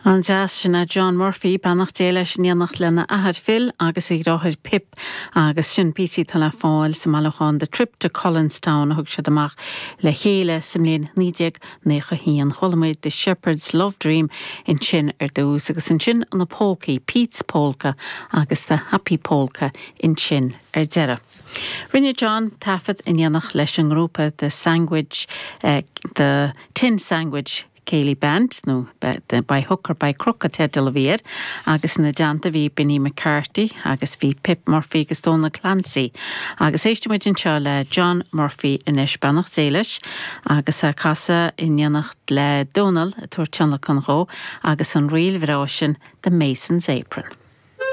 An-deas, sin é John Murphy, beannacht Dé leis, in éineacht lena athair Phil agus a dheartháir Pip agus sin píosaí atá le fáil sa mbailiúchán The Trip to Cullenstown a thug siad amach le chéile sa mbliain 1991. Chuala muid The Shepherd's Love Dream ansin ar dtús agus ansin na polcaí, Pete's Polka agus The Happy Polka ansin ar deireadh. Rinne John taifead in éineacht leis an ngrúpa The Sandwich, The Tin Sandwich Céilí Band, nó By Hook or By Crook an teideal a bhí air, agus ina dteannta bhí Benny McCarthy agus bhí Pip Murphy agus Donal Clancy. Agus éistfidh muid anseo le John Murphy anois, beannacht Dé leis, agus é ag casadh in éineacht le Donal ag tabhairt tionlacan dhó agus an ríl bhreá sin The Mason's Apron.